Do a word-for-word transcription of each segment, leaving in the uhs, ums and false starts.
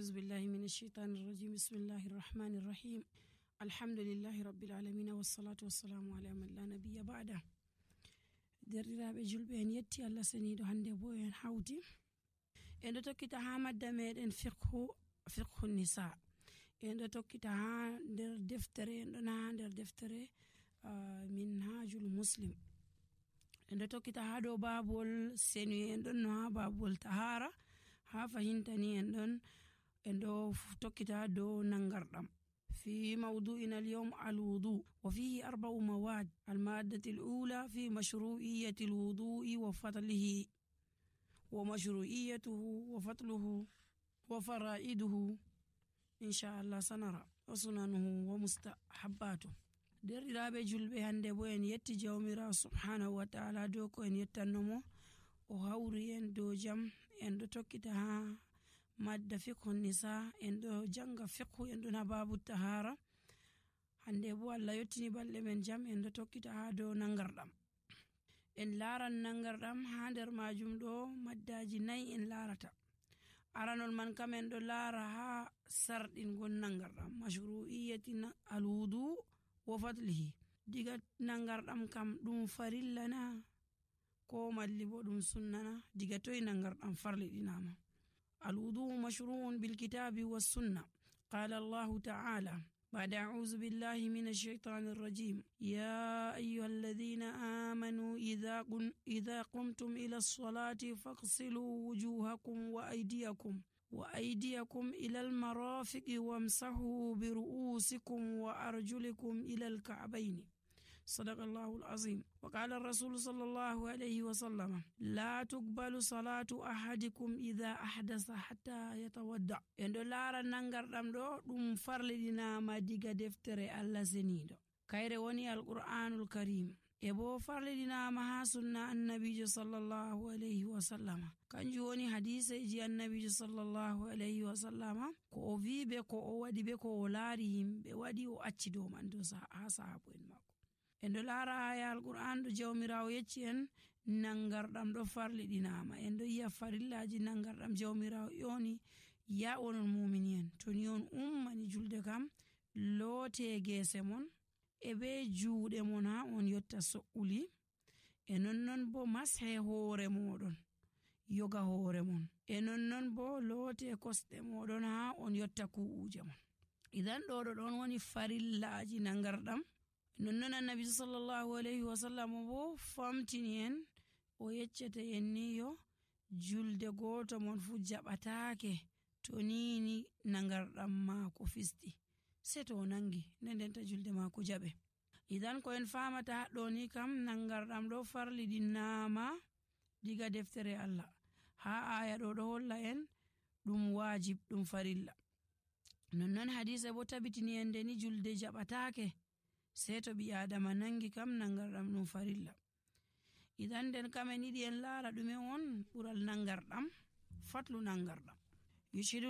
أعوذ بالله من الشيطان الرجيم بسم الله الرحمن الرحيم الحمد لله رب العالمين والصلاة والسلام على من لا نبي بعده. derdiraaɓe julɓe en yetti Allah seniiɗo hande bo en hawti en ɗo tokkita ha madda meɗen fiqhu fiqhu nisa en ɗo tokkita ha nder deftere en ɗon ha nder deftere uh, minhajul muslim en ɗo tokkita ha dow babol senu en ɗon no ha babol tahara ha fahintani en ɗon en ɗo tokkita dow nangarɗam في موضوعنا اليوم الوضوء وفيه أربع مواد. المادة الأولى في مشروعية الوضوء وفضله ومشروعيته وفضله وفرائده إن شاء الله سنرى وسننه ومستحباته. derdiraaɓe julɓe hande bo en yetti jawmirawo subhanahu wa ta'ala dow ko en yettannomo o hawri en dow jam en ɗo tokkita ha madda fiqhu nisa en ɗo janga fiqhu en ɗon ha babu tahara hande bo Allah yottini balɗe men jam en ɗo tokkita ha dow nangarɗam en laran nangarɗam ha nder majum ɗo maddaji nayi en larata. aranol man kam en ɗo lara ha sarɗingol nangarɗam mashru'iyati alwudu wa fadlihi diga nangarɗam kam ɗum farillana ko malli bo ɗum sunnana diga toy nangarɗam farliɗinama. الوضوء مشروع بالكتاب والسنة. قال الله تعالى بعد أعوذ بالله من الشيطان الرجيم يا أيها الذين آمنوا إذا, قن إذا قمتم إلى الصلاة فاغسلوا وجوهكم وأيديكم وأيديكم إلى المرافق وامسحوا برؤوسكم وأرجلكم إلى الكعبين. صدق الله العظيم. وقال الرسول صلى الله عليه وسلم لا تقبل صلاة أحدكم إذا أحدث حتى يتودع. endo lara nangarɗam ɗo ɗum farliɗinama diga deftere Allah seniiɗo kayre woni alqur'anul karim e bo farliɗinama ha sunna annabijo sallallahu alayhi wa sallama kanjum woni hadiseji annabijo sallallahu alayhi wa sallama ko o wi be ko o waɗi be ko o laari yimɓe waɗi o acci dow man dow ha sahabu en makko. en ɗo laara aya alqur'an ɗo jawmirawo yecci en nangarɗam ɗo farliɗinama en ɗo yiya farillaji nangarɗam jawmirawo yoni ya onon mumini en toni on ummani julde kam loote geese mon e be juuɗe mon ha on yotta so'uli e nonnon bo mashe hoore moɗon yoga hoore mon e nonnon bo loote kosɗe moɗon ha on yotta ku'uje mon. idan ɗo ɗo ɗon woni farillaji nangarɗam. nonnon annabi sallallahu alayhi wa sallam bo famtini en o yeccete en ni yo julde goto mon fu jaɓatake to nini nangarɗam maako fisti se to nangi ndendenta julde maako jaɓe. idan ko en famata haɗɗo ni kam nangarɗam ɗo farliɗinama diga deftere Allah ha aya ɗo ɗo holla en ɗum wajib ɗum farilla. nonnon hadise bo tabitini en de ni julde jaɓatake sai to ɓi adama nangi kam nangarɗam ɗum farilla. idan nden kam en yiɗi en laara ɗume on ɓural nangarɗam fatlu nangarɗam. yushidu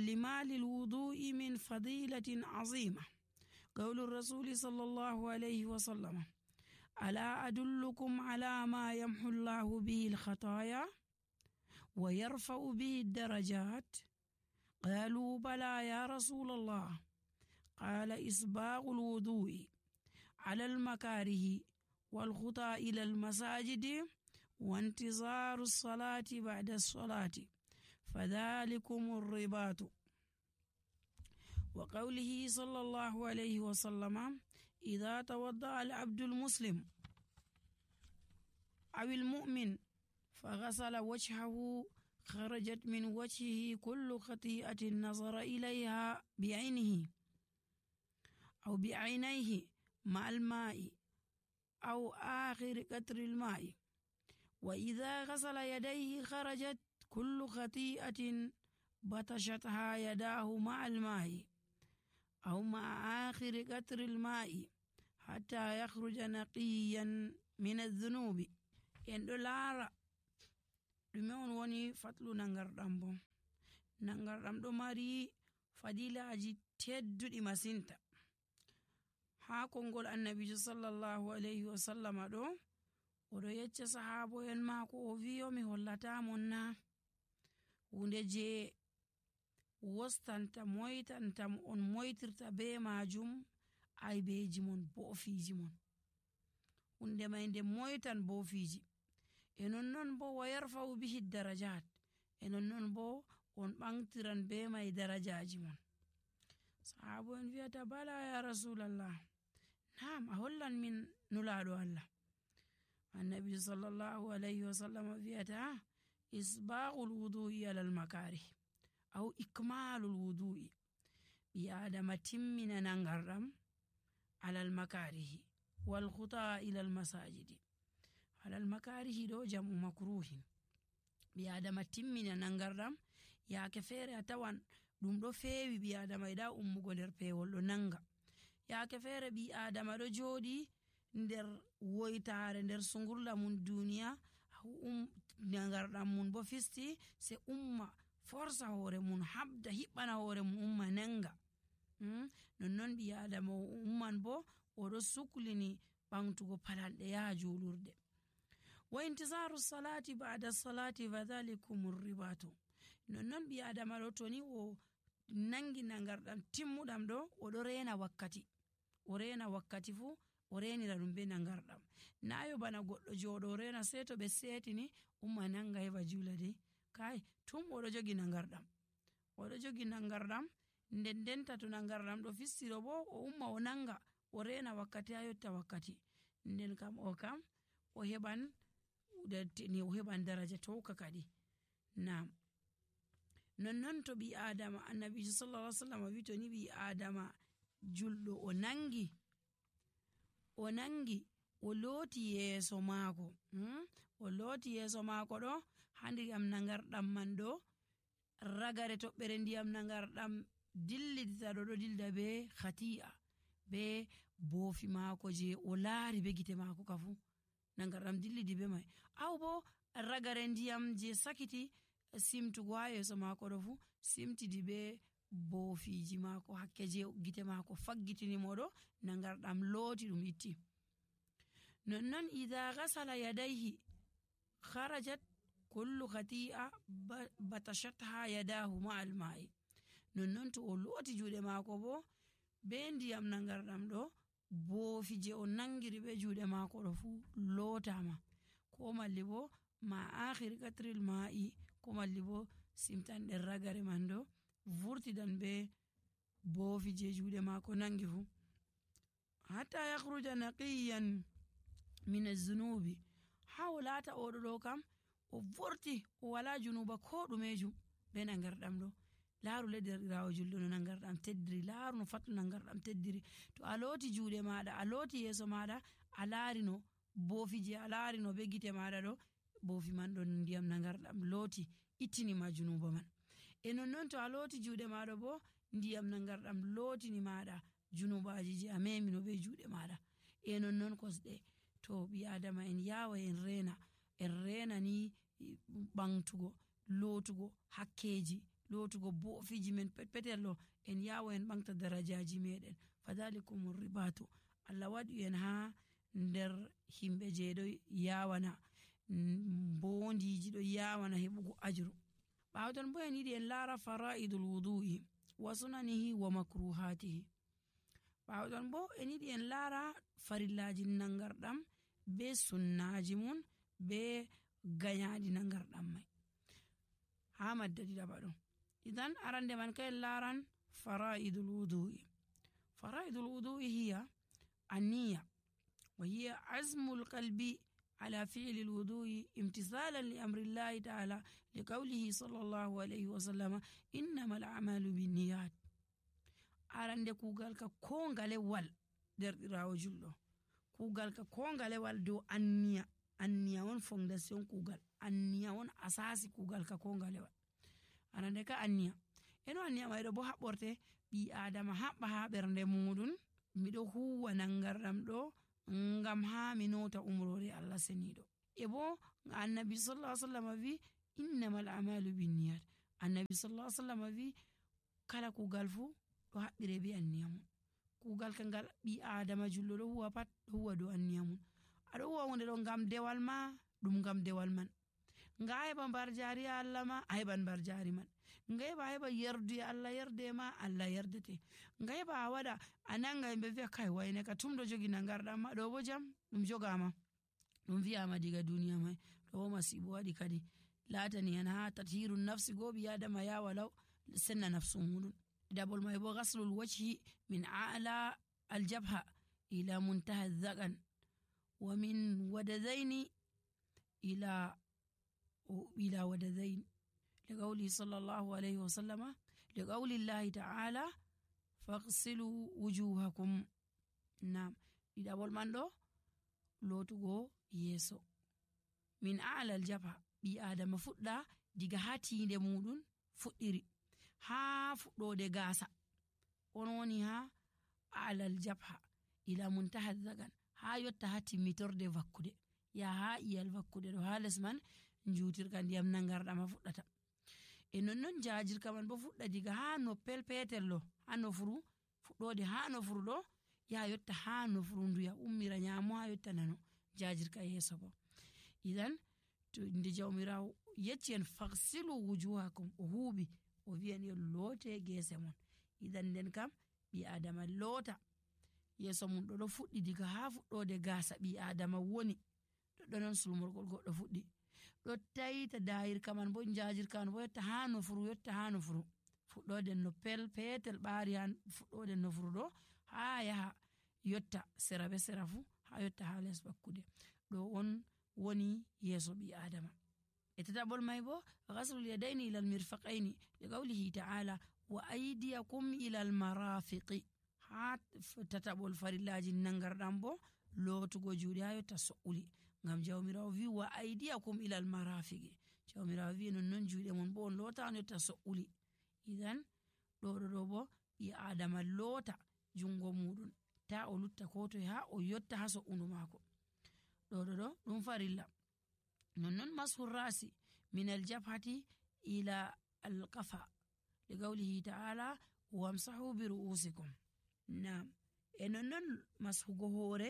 lima lil wudu'i min fadilatin azima qawlu rasuli sallallahu alayhi wa sallam ala adullukum ala ma yamhu llahu bihi alkhataya wa yarfa'u bihi ad-darajat qalu bala ya rasul allah qala isbaghu alwudu'i على المكاره والخطى إلى المساجد وانتظار الصلاة بعد الصلاة فذلكم الرباط. وقوله صلى الله عليه وسلم إذا توضأ العبد المسلم أو المؤمن فغسل وجهه خرجت من وجهه كل خطيئة نظر إليها بعينه أو بعينيه مع الماء أو آخر قطر الماء. وإذا غسل يديه خرجت كل خطيئة بطشتها يداه مع الماء أو مع آخر قطر الماء حتى يخرج نقيا من الذنوب. en ɗo laara ɗume on woni fatlu nangarɗam bo. nangarɗam ɗo mari fadilaji tedduɗi masinta. ha kongol annabijo sallallahu alayhi wa sallama ɗo oɗo yecca sahabo en mako o wiyo mi hollata mon na hunde je wostanta moytanta mo on moytirta be majum aybeji mon boofiji mon. hunde mai nde moytan boofiji. e nonnon bo wa yarfa'u bihi darajat, e nonnon bo on ɓantiran be mai darajaji mon. Sahabo en wi'ata bala ya rasulallah, naam a hollan min nulaɗo Allah. Annabi sallallahu alayhi wa sallam wi'ata isbaghul wudu'i alal makarih aw ikmalul wudu'i. ɓi adama timmina nangarɗam alal makarihi wal khuta ilal masajidi. alal makarihi ɗo jam'u makruhin. ɓi adama timmina nangarɗam yaake feere a tawan ɗum ɗo feewi ɓi adama yiɗa ummugo nder pewol ɗo nanga. yaake feere ɓi adama ɗo jooɗi nder woytare nder sungurla mum duniya um, nangarɗam mum bo fisti se umma forsa hoore mum habda hiɓɓana hoore mum umma nanga. hmm? nonnon ɓi adama o umman bo oɗo suklini ɓamtugo palanɗe yaha julurde. wa intizaru salati ba'da salati fadhalikum ribatu. nonnon ɓi adama ɗo toni o nangi nangarɗam timmuɗam ɗo oɗo rena wakkati, o rena wakkati fu o renira ɗum be nangarɗam. nayo bana goɗɗo joɗo rena sei to ɓe setini umma nanga heɓa jula de kai tum oɗo jogi nangarɗam oɗo jogi nangarɗam nden denta to nangarɗam ɗo fistiro bo o umma o nanga o rena wakkati ha yotta wakkati, nden kam o kam o heɓan ni o heɓan daraja towka kadi. Naam, nonnon to ɓi adama annabijo sallallahu alaihi wasallam wi to ni ɓi adama julɗo o nangi o nangi o looti yeeso maako hmm? o looti yeeso maako ɗo ha ndiyam nangarɗam man ɗo ragare toɓɓere ndiyam nangarɗam dillidita ɗo ɗo dilda be khati'a be boofi maako je o laari be gite maako ka fu nangarɗam dillidi be mai, aw bo ragare ndiyam je sakiti simtugo ha yeeso maako ɗo fu simtidi be boofiji maako hakke je gite maako faggitini moɗo nangarɗam looti ɗum itti. nonnon idha ghasala yadayhi kharajat kullu khati'a batashatha yadahu ma'al ma'i. nonnon to o looti juuɗe maako bo be ndiyam nangarɗam ɗo boofi je o nangiri be juuɗe maako ɗo fu lootama, ko malli bo ma akhiri katril ma'i, ko malli bo simtan ɗen ragare man ɗo vurtidan be boofi je juuɗe maako nangi fu hatta yakhruja naqiyan min az-zunubi, ha o laata oɗo ɗo kam o vorti o wala junuba ko ɗumejum be nangarɗam ɗo. laaru le derɗirawo julɗo no nangarɗam teddiri, laaru no fattu nangarɗam teddiri. to a looti juuɗe maɗa a looti yeeso maɗa a laari no boofi je a laari no be gite maɗa ɗo boofi man ɗo ndiyam nangarɗam looti ittinima junuba man. e nonnon to a looti juuɗe maɗa bo ndiyam nangarɗam lootini maɗa junubaji je a memino be juuɗe maɗa. e nonnon kosɗe to ɓi adama en yawa en rena en rena ni ɓamtugo lootugo hakkeji lootugo boofiji men petpetel ɗo en yawa en ɓamta darajaji meɗen. fadhalikum ribatu. Allah waɗi en ha nder himɓe je ɗo yawana bondiji ɗo yawana heɓugo ajru. ɓawo ton bo en yiɗi en laara fara'idul wudu'i wa sunanihi wa makruhatihi. ɓawo ton bo en yiɗi en laara farillaji nangarɗam be sunnaji mun be gayaɗi nangarɗam mai ha madda ɗiɗaɓa ɗo. idan arande man ka en laaran fara'idul wudu'i. fara'idul wudu'i hiya النية وهي عزم القلب على فعل الوضوء امتثالا لأمر الله تعالى لقوله صلى الله عليه وسلم إنما الأعمال بالنيات. arande kugal ka kongale wal derɗirawo julɗo kugal ka kongale wal dow anniya. anniya won fondation kugal, anniya won asasi kugal ka kongale wal. arande ka anniya eno anniya mai ɗo bo haɓɓorte ɓi adama haɓɓa ha ɓernde muɗum miɗo huwa nangarɗam ɗo ngam ha mi nota umrore Allah seniɗo. e bo annabi sallallahu alaihi wasallam wi innamal a'malu binniyat. annabi sallallahu alaihi wasallam wi kala kugal fu ɗo haɓɓire be anniya mum. kugal ka ngal ɓi adama julɗo ɗo huwa pat ɗo huwa dow anniya mum. aɗo huwa hunde ɗo ngam dewal ma ɗum ngam dewal man, nga heɓa mbar jari Allah ma a heɓan mbar jari man, nga heɓa heɓa yerduye Allah yerde ma Allah yerdete, nga heɓa a waɗa a nanga yimɓe wi'a kai wayne ka tumɗo jogi nangarɗam ma, ɗo bo jam ɗum jogama ɗum wi'ama diga duniya mai, ɗo bo masibo waɗi kadi latani en ha tathiru nafsi go ɓi adama ya walaw senna nafsu muɗum. Ɗiɗaɓol mai bo ghaslul wajhi min a'la aljabha ila muntaha dhagan wa min wadadaini ila ila wadadain liqawli sallallahu alayhi wa sallama liqawli llahi ta'ala faghsilu wujuhakum. Nam ɗiɗaɓol man ɗo lotugo yeso min a'la aljabha, ɓi adama fuɗɗa diga ha tinde muɗum fuɗɗiri ha fuɗɗode gasa on woni ha alal jabha ila muntaha dhagan ha yotta ha timmitorde vakkude ya ha iyal vakkude ɗo ha les man jutirka ndiyam nangarɗama fuɗɗata. E nonnon jajirka man bo fuɗɗa diga ha noppel petel ɗo ha nofuru fuɗɗode ha nofuru ɗo ya yotta ha nofuru nduya ummira nyamo ha yotta nano jajirka yeso bo. Idan to nde jawmirawo yecci en faghsilu wujuhakum o huuɓi o wi'en yo loote gese mon. Idan nden kam ɓi adama loota yeso mum ɗo ɗo fuɗɗi diga ha fuɗɗode gasa ɓi adama woni ɗoɗɗo non sulmorgol goɗɗo fuɗɗi ɗo tayita dayirka man bo jajirka man bo yotta ha nofuru yotta ha nofuru fuɗɗode no pel petel ɓaari ha fuɗɗode nofuru ɗo ha yaha yotta sera be sera fu ha yotta ha les bakkude ɗo on woni yeso ɓi adama. E tataɓol mai bo ghaslul yadaini ila almirfaqaini liqawlihi ta'ala wa aydiyakum ila almarafiqi. Ha tataɓol farillaji nangarɗam bo lootugo juuɗe ha yotta so'uli ngam jawmirawo wi wa aydiyakum ila almarafiqi, jawmirawo wi nonnon juuɗe mon bo on loota on yotta so'uli. Idan ɗo ɗo ɗo bo ɓi adama loota jungo muɗum ta o lutta ko toye ha o yotta ha so'undu mako ɗo ɗo ɗo ɗum farilla. nonnon mashur rasi min aljabhati ila alqafa liqawlihi ta'ala wamsahu bi ru'usikum. Nam e nonnon mashugo hore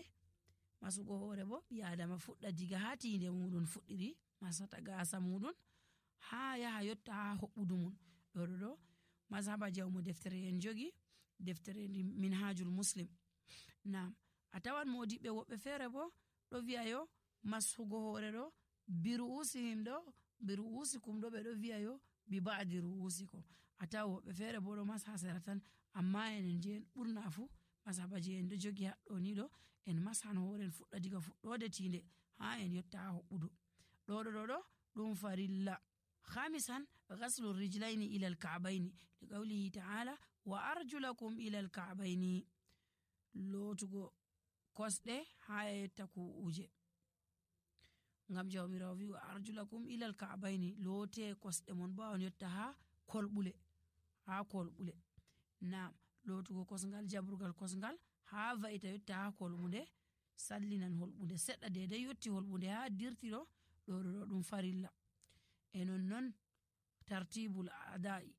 masugo hore bo ɓi adama fuɗɗa diga ha tinde muɗum fuɗɗiri masata gasa muɗum ha yaha yotta ha hoɓɓudu mum ɗo ɗo ɗo mazhaba jawmo deftere en jogi deftere minhajul muslim. Nam a tawan modiɓɓe woɓɓe fere bo ɗo wi'a yo mashugo hore ɗo bi ru'usihim ɗo bi ru'usikum ɗo ɓe ɗo wi'a yo bi ba'di ru'usikum. A tawa woɓɓe fere bo ɗo masha sera tan amma enen je en ɓurna fu masaba je en ɗo jogi haɗɗo ni ɗo en masan hore en fuɗɗa diga fuɗɗode tinde ha en yotta ha hoɓɓudu ɗo ɗo ɗo ɗo ɗum farilla. Khamisan ghaslu rijlaini ila alka'baini liqawlihi ta'ala wa arjulakum ila alka'baini, lootugo kosɗe ha yotta ku'uje ngam jawmirawo wi wa arjulakum ila alka'baini loote kosɗe mon bo on yotta ha kolɓule ha kolɓule. Nam lootugo kosngal jaburgal kosngal ha va'ita yotta ha kolɓude sallinan holɓude seɗɗa dedai yotti holɓude ha dirti ɗo ɗo ɗo ɗo ɗum farilla. E nonnon tartibul a'da'i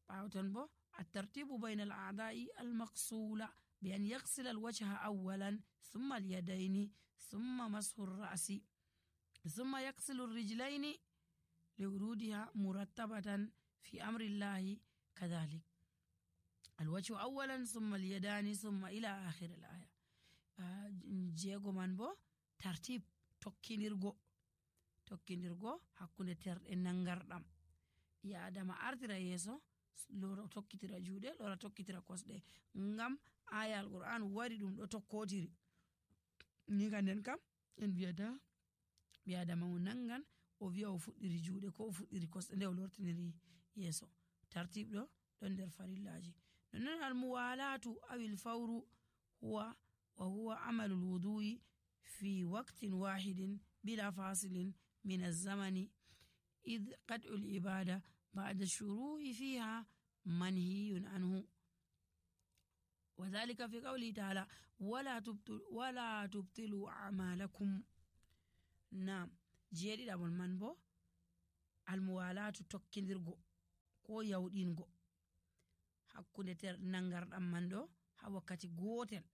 ɓawton bo الترتيب بين الأعضاء المغسولة بأن يغسل الوجه أولا ثم اليدين ثم مسح الرأس ثم يغسل الرجلين لورودها مرتبة في أمر الله كذلك الوجه أولا ثم اليدان ثم إلى آخر الآية. جيغو من بو ترتيب tokkinirgo tokkinirgo hakkunde terɗe nangarɗam ya adama artira yeso lora tokkitira juuɗe lora tokkitira kosɗe ngam aya alquran wari ɗum ɗo tokkotiri ni ka nden kam en wiyata ɓi adama o nangan o wiya o fuɗɗiri juuɗe ko o fuɗɗiri kosɗe nde o lortiniri yeso tartib ɗo ɗon nder farillaji. nonnon almuwalatu awil fawru huwa wa huwa amalu lwudu'i fi waqtin wahidin bila fasilin min alzamani id qad'u libada ba'da shuru'i fiha manhiyun anhu wa dhalika fi qawli ta'ala wala tubtilu wala tubtilu a'malakum. Nam jeeɗiɗaɓol man bo almuwalatu tokkidirgo ko yawɗingo hakkunde ter nangarɗam man ɗo ha wakkati gotel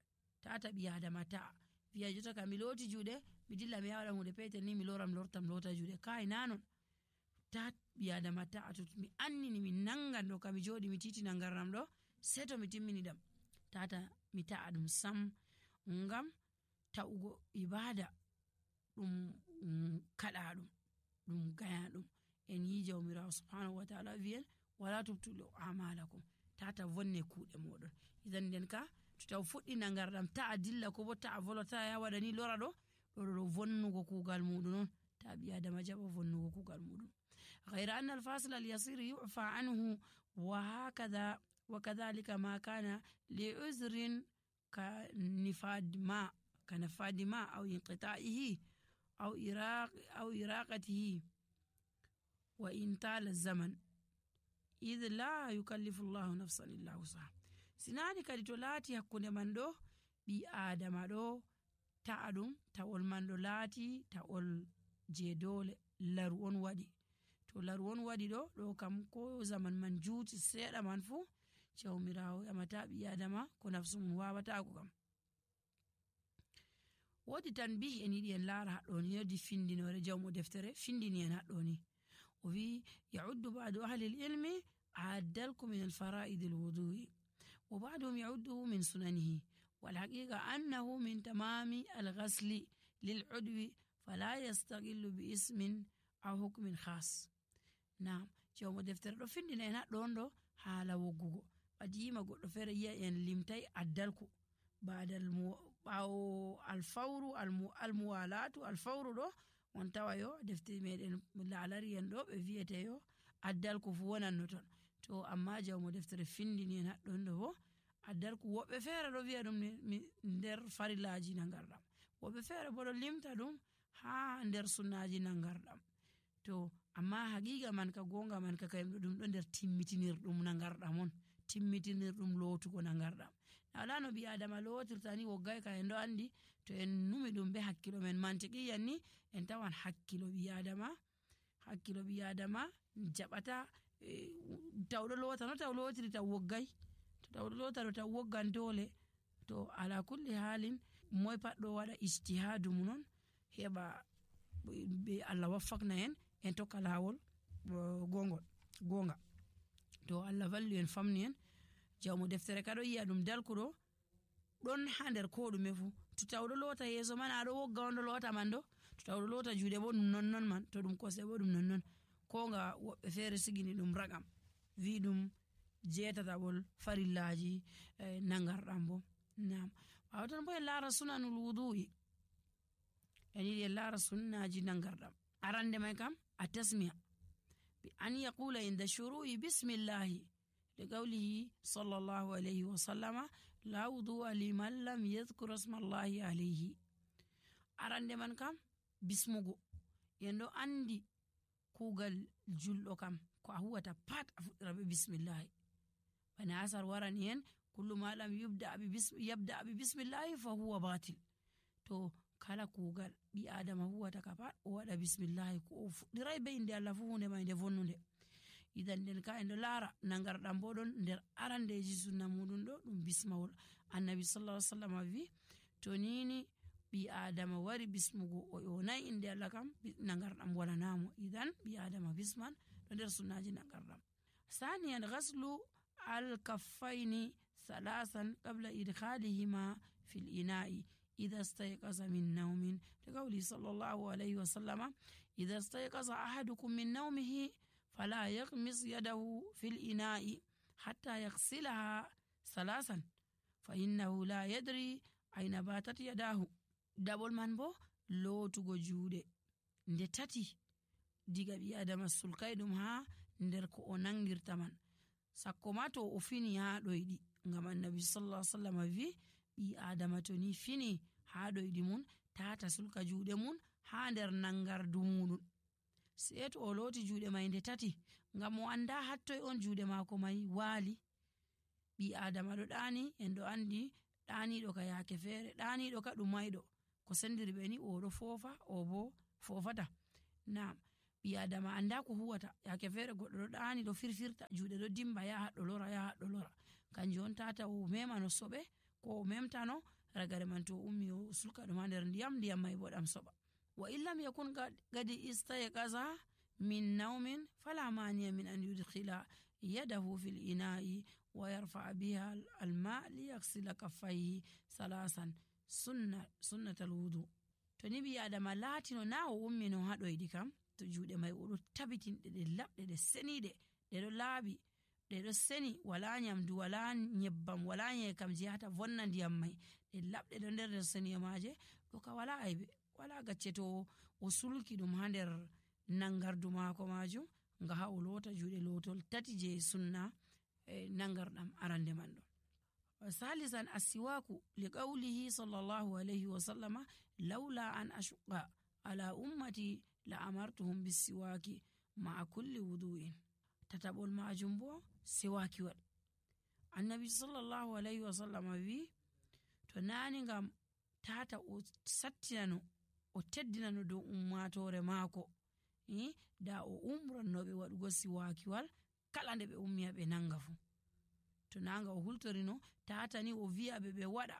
tata ɓi adama ta'a wiya jota ka mi looti juuɗe mi dilla mi yawaɗa hunde petel ni mi loram lortam lota juuɗe kai nanon ta ɓi adama ta'a to mi annini mi nangan ɗo ka mi joɗi mi titina ngarnam ɗo sei to mi timmini ɗam tata mi ta'a ɗum sam ngam ta'ugo ibada ɗum kaɗa ɗum ɗum gaya ɗum en yi jawmirawo subhanahu wa ta'ala wi'en wala tubtulu a'malakum tata vonne kuuɗe moɗon idan nden ka to taw fuɗɗi nangarɗam ta'a dilla ko bo ta'a volo ta'a ya waɗani lora ɗo ɗo ɗo vonnugo kuugal muɗum on ta ɓi adama jaɓa vonnugo kuugal muɗum غير أن الفاصل اليسير يعفى عنه وهكذا وكذلك ما كان لعذر كنفاد ماء كنفاد ماء أو انقطاعه أو إراق أو إراقته وإن طال الزمن إذ لا يكلف الله نفسا إلا وسعها sinani kadi to laati hakkunde man ɗo ɓi adama ɗo ta'a ɗum tawol man ɗo laati tawol je dole laru on waɗi to laru on waɗi ɗo ɗo kam ko zaman man juuti seeɗa man fuu jawmirawo yamata ɓi adama ko nafsu mum wawatago kam wodi tan bi en yiɗi en laara haɗɗoni yodi findinore jawmo deftere findini en haɗɗoni o wi yauddu ba'du ahli ilmi addalku min alfara'id alwudu'i wa ba'duhum yaudduhu min sunanihi والحقيقة أنه من تمام الغسل للعضو فلا يستغل باسم أو حكم خاص نعم جوم دفتر دو فندina en haɗɗon ɗo haala woggugo ɓadi yima goɗɗo feere yi'a en limtay addalku badal ɓawo alfawru almuwalatu alfawru ɗo on tawa yo defte meɗen laalari en ɗo ɓe wiyete yo addalku fu wonanno ton to amma jawmo deftere findini en haɗɗon ɗo bo addalku woɓɓe feere ɗo wi'a ɗum nder farillaji nangarɗam woɓɓe feere bo ɗo limta ɗum ha nder sunnaji nangarɗam to amma haqiqa man ka gonga man ka kayim ɗum ɗo nder timmitinirɗum nangarɗam on timmitinirɗum lootugo nangarɗam wala no ɓi adama lootirta ni woggay ka en ɗo andi to en numi ɗum be hakkilo men mantiqiyan ni en tawan hakkilo ɓi adama hakkilo ɓi adama jaɓata tawɗo loota no taw lootiri taw woggay to tawɗo loota ɗo taw woggan dole to ala kulli halin moy pat ɗo waɗa ijtihadu mum non heɓa be Allah waffakna en en tokka lawol gongol gonga to Allah vallu en famni en jawmo deftere ka ɗo yi'a ɗum dalkuɗo ɗon ha nder ko ɗume fu to tawɗo loota yeeso man aɗo wogga on ɗo loota man ɗo to tawɗo loota juuɗe bo ɗum nonnon man to ɗum kosɗe bo ɗum nonnon ko nga woɓɓe feere sigini ɗum ragam wi ɗum jeetataɓol farillaji eh, nangarɗam bo nam wawatan bo en laara sunanul wudu'i en yiɗi en laara sunnaji nangarɗam arande may kam a tasmiya bi an yaqula inda shuru'i bismillahi لقوله صلى الله عليه وسلم لا وضوء لمن لم يذكر اسم الله عليه arande man kam bismugo en ɗo andi kugal julɗo kam ko a huwata pat a fuɗɗira be bismillahi bana asar warani en kullu ma lam yubda bi yabda bi bismillahi fa huwa batil to kala kugal ɓi adama huwata ka pat o waɗa bismillahi ko o fuɗɗiray be inde Allah fu hunde ma nde vonnude idan nden ka en ɗo laara nangarɗam bo ɗon nder arandeji sunna muɗum ɗo ɗum bismawol annabi sallallahu alaihi wasallam wi to nini ɓi adama wari bismugo o yonay inde Allah kam nangarɗam walanamo idan ɓi adama bisman ɗo nder sunnaji nangarɗam ثانيا غسل الكفين ثلاثا قبل إدخالهما في الإناء إذا استيقظ من نوم لقوله صلى الله عليه وسلم إذا استيقظ أحدكم من نومه فلا يغمس يده في الإناء حتى يغسلها ثلاثا فإنه لا يدري أين باتت يداه دبل من بو لوتugo juuɗe nde tati diga ɓi adama sulkay ɗum ha nder ko o nangirta man sakko ma to o fini ha ɗoyɗi ngam annabi sallallahu alaihi wasallam wi ɓi adama to ni fini ha ɗoyɗi mun tata sulka juuɗe mun ha nder nangardu muɗum sei to o looti juuɗe may nde tati ngam o anda hattoy on juuɗe maako may waali ɓi adama ɗo ɗaani en ɗo andi ɗaaniɗo ka yaake feere ɗaaniɗo ka ɗum mayɗo ko sendiri ɓe ni oɗo foofa o bo foofata nam ɓi adama anda ko huwata yaake feere goɗɗo ɗo ɗaani ɗo firfirta juuɗe ɗo dimba ya haɗɗo lora ya haɗɗo lora kanjum on tata o memano soɓe ko o memtano ragare man to ummi o sulka ɗum ha nder ndiyam ndiyam may bo ɗam soɓa wa illam yakun gadi istayqaza min naumin fala maniya min an yudkhila yadahu fil ina'i wa yarfa'a biha alma liyaghsila kaffayhi salasan sunna sunnatal wudu. To ni ɓi adama latino na o ummi no ha ɗoyɗi kam, to juuɗe mai o ɗo tabitinɗe ɗe laɓɗe ɗe seniɗe ɗe ɗo laaɓi ɗe ɗo seni, wala nyamdu wala nyebbam wala nyekam je hata vonna ndiyam mai, ɗe laɓɗe ɗo nder nder seniye maje, ɗo ka wala aibe, wala gacce to o sulki ɗum ha nder nangardu mako majum nga ha o lota juuɗe lotol tati je sunna e nangarɗam arande man ɗo. Salisan asiwaku liqaulihi sallallahu alayhi wa sallama laula an ashqa ala ummati la amartuhum bisiwaki ma'a kulli wudu'in. Tataɓol majum bo siwakiwal. Annabi sallallahu alayhi wa sallama wi to nani ngam tata o sattinano o teddinano dow ummatore maako eh? da o umrannoɓe waɗugo siwakiwal kala nde ɓe ummiya ɓe nanga fu. To nanga o hultorino tata ni o wi'a ɓe ɓe waɗa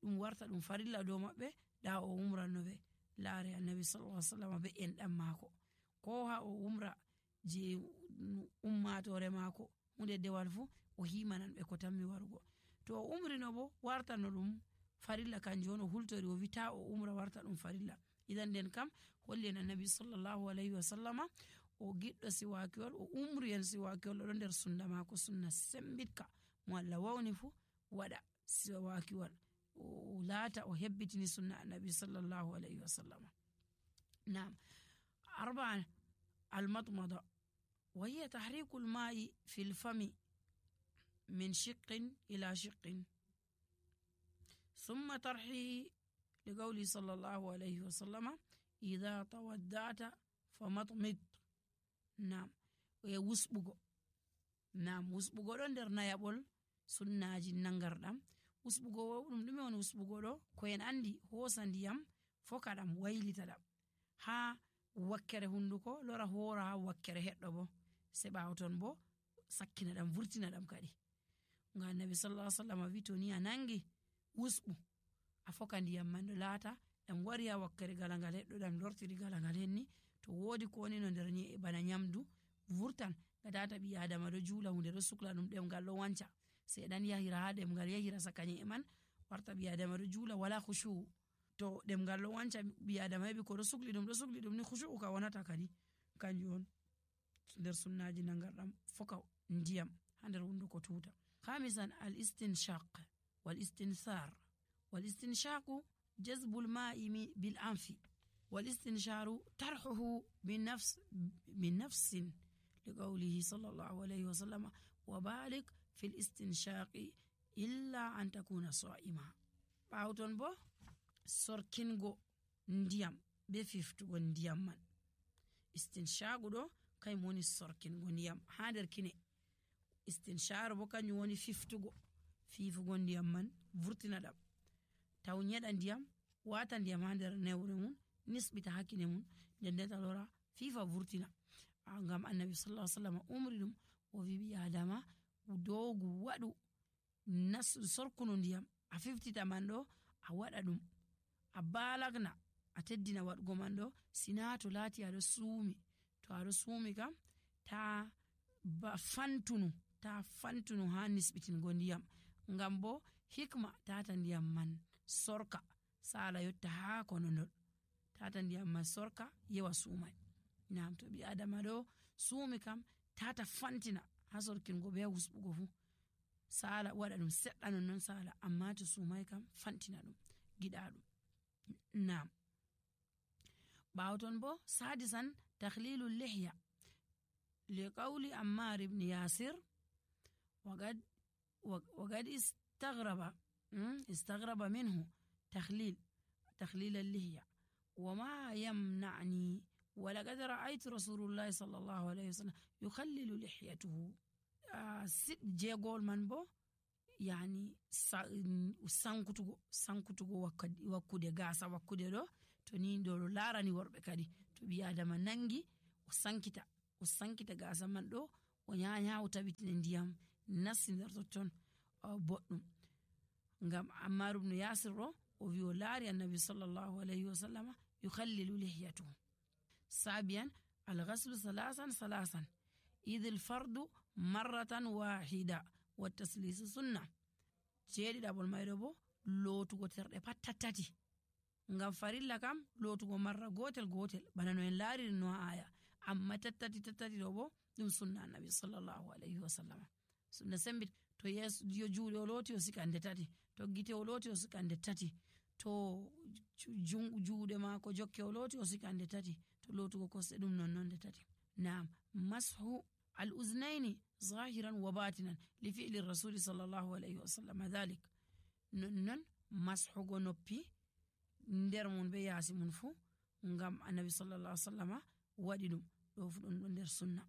ɗum warta ɗum farilla dow maɓɓe, da o umrannoɓe laare annabi sallallahu alaihi wasallam be enɗam maako, ko ha o umra je ummatore maako hunde dewal fu o himanan ɓe ko tammi warugo. To o umrino bo wartano ɗum farilla kanjum on o hultori o wita o umra warta ɗum farilla. Idan den kam holli en annabi sallallahu alaihi wasallama o giɗɗo siwakiwal, o umri en siwakiwal ɗo nder sunna maako, sunna sembitka mo Allah wawni fu waɗa siwakiwal o laata o hebbitini sunna annabi sallallahu alaihi wasallama. Naam. Arba'an almatmada wa hiya tahriku alma'i fil fami min shiqqin ila shiqqin thumma tarhihi liqawli sallallahu alaihi wasallama idha tawadda'ta famatmid. Naam. E wusɓugo. Naam, wusɓugo ɗo nder nayaɓol sunnaji nangarɗam. Wusɓugo ɗum ɗume on wusɓugo ɗo? Ko en andi hosa ndiyam foka ɗam waylita ɗam ha wakkere hunduko lora hora ha wakkere heɗɗo bo se ɓawo ton bo sakkina ɗam vurtina ɗam kadi. Nga annabi sallallahu alaihi wasallam wi to ni a nangi wusɓu a foka ndiyam man ɗo laata ɗam wari ha wakkere galangal heɗɗo ɗam lortiri galangal henni, to wodi ko woni no nder nyi'e bana nyamdu vurtan gadata ɓi adama ɗo juula hunde ɗo sukla ɗum ɗemgal ɗo wanca sai ɗan yahira ha ɗemgal yahira saka nyi'e man warta ɓi adama ɗo juula wala khushu. To ɗemgal ɗo wanca ɓi adama heɓi ko ɗo sukli ɗum ɗo sukli ɗum ni khushu ka wonata kadi. Kanjum on nder sunnaji nangarɗam foka ndiyam ha nder hunduko tuta. Khamisan al istinshaq wal istinthar. wal istinshaqu jazbul ma'i bil anfi wal istinsharu tarhuhu bin nafs min nafsin liqawlihi sallallahu alayhi wa sallam wa balik fil istinshaqi illa an takuna sa'ima. Ɓawton bo sorkingo ndiyam be fiftugo ndiyam man. Istinshagu ɗo kayum woni sorkingo ndiyam ha nder kine. Istinsharu bo kanjum woni fiftugo fifugo ndiyam man vurtina ɗam. Taw nyeɗa ndiyam wata ndiyam ha nder newre mun nisbita hakkine mun nden nden lora fifa vurtina. Ngam annabi sallallahu alaihi wasallam umri ɗum o wi ɓi adama dogu waɗu nas sorkuno ndiyam a fiftita man ɗo a waɗa ɗum a balagna a teddina waɗugo man ɗo sina to laati aɗo suumi. To aɗo suumi kam ta ba fantunu ta fantunu ha nisbitingo ndiyam, ngam bo hikma tata ndiyam man sorka sala yotta ha konondol, tata ndiyam man sorka yewa suumai. Naam, to ɓi adama ɗo suumi kam tata fantina ha sorkingo be wusɓugo fu sala waɗa ɗum seɗɗa non non sala, amma to suumai kam fantina ɗum giɗa ɗum. Naam. Ɓawton bo sadisan takhlilu lihya liqawli Ammar ibn Yasir وقد وقد استغرب استغرب منه تخليل تخليل اللحية وما يمنعني ولقد رأيت رسول الله صلى الله عليه وسلم يخلل لحيته. ست جيغول من بو يعني sankutugo sankutugo wakkude gasa wakkude ɗo to ni ɗo larani worɓe kadi to ɓi adama nangi o sankita o sankita gasa man ɗo o nyanya o tabitine ndiyam nasti nder totton boɗɗum. Ngam Ammar ibn Yasir ɗo o wi o laari annabi sallallahu alayhi wa sallama yukhallilu lihyatuhu. Sabiyan alghaslu salasan salasan idil fardu marratan wahida wa taslisu sunna. jeeɗiɗaɓol mayɗo bo lootugo terɗe pat tattati, ngam farilla kam lootugo marra gotel gotel bana no en laariri no aya, amma tattati tattati ɗo bo ɗum sunna annabi sallallahu alayhi wa sallam. sunna sembit to yeso juuɗe o looti o sika nde tati, to gite o looti o sika nde tati, to juuɗe maako jokke o looti o sika nde tati, to lootugo kosɗe ɗum nonnon nde tati. Naam, mashu al uznaini zahiran wa batinan li fi'li rasuli sallallahu alayhi wa sallam dhalik. nonnon mashugo noppi nder mun be yaasi mun fu ngam annabi sallallahu alayhi wa sallam waɗi ɗum, ɗo fu ɗon ɗo nder sunna.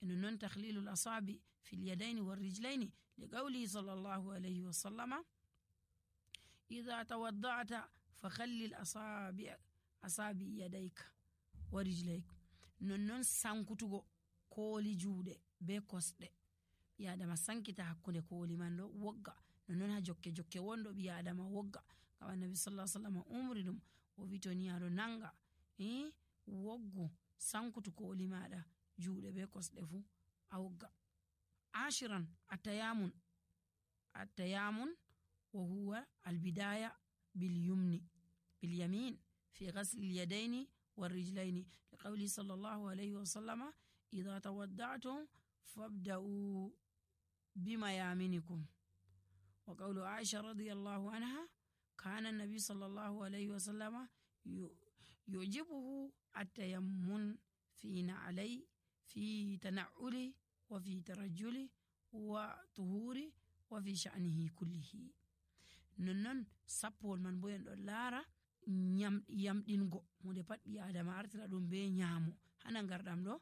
e nonnon takhlilul asabi fil yadaini war rijlaini li qawli sallallahu alayhi wa sallama idha tawadda'ta fa khallil asabi asabi yadayka wa rijlayka. nonnon sankutugo kooli juuɗe be kosɗe, ɓi adama sankita hakkunde kooli man ɗo wogga, nonnon ha jokke jokke wonɗo ɓi adama wogga, ngam annabi sallallahu alaihi wasallam umri ɗum o wi to ni aɗo nanga eh woggu sankutu kooli maɗa juuɗe be kosɗe fu a wogga. ashiran atayamun atayamun wa huwa albidaya bil yumni bil yamin fi ghasli al yadaini war rijlaini li qawli sallallahu alayhi wa sallama idha tawadda'tum fabda'u bima yaminikum. wa qawlu Aisha radiyallahu anha kana an-nabi sallallahu alayhi wa sallama yujibuhu at-tayammun fi na'alay fi tana'uli wa fi tarajjuli wa tuhuri wa fi sha'nihi kullihi. nonnon sappol man bo en ɗon laara yamɗingo hunde pat ɓi adama artira ɗum be nyaamo, hana ngarɗam ɗo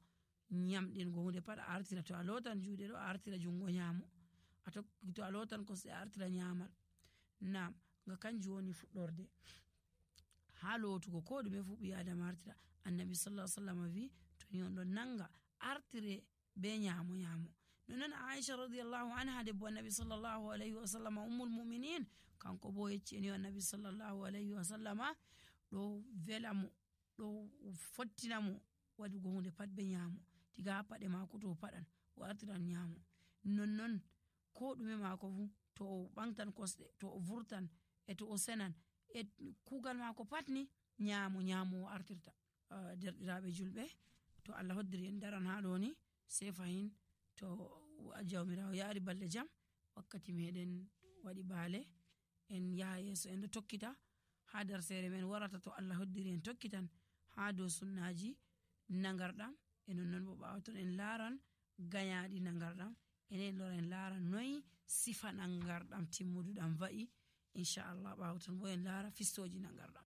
yamɗingo hunde pat a artira, to a lotan juuɗe ɗo a artira jungo nyaamo, to a lotan kosɗe a artira nyamal. nam nga kanjum woni fuɗɗorde ha lootugo ko ɗume fu ɓi adama artira. annabi sallallahu alaihi wasallam wi to ni on ɗon nanga artire be nyaamo nyaamo. nonnon Aisha radiyallahu anha debbo annabi sallallahu alayhi wa sallam ummul mu'minin kanko bo yecci en annabi sallallahu alayhi wa sallam ɗo vela mo ɗo fottina mo waɗugo hunde pat be nyaamo, diga ha paɗe maako to paɗan o artiran nyaamo, nonnon ko ɗume maako fu to o ɓangtan kosɗe, to o vurtan e to o senan e kugal maako pat ni nyaamo nyaamo o artirta. derɗiraɓe julɓe, to Allah hoddiri en daran ha ɗo ni sai fahin to jawmirawo yaari balɗe jam wakkati meɗen waɗi baale en yaha yeeso en ɗo tokkita ha darsere men warata to Allah hoddiri en tokkitan ha dow sunnaji nagarɗam. e nonnon bo ɓawaton en laaran gayaɗi nagarɗam, enen lora en laara noyi sifa nagarɗam timmuduɗam va'i inchallah. ɓawaton bo en laara fistoji nagarɗam.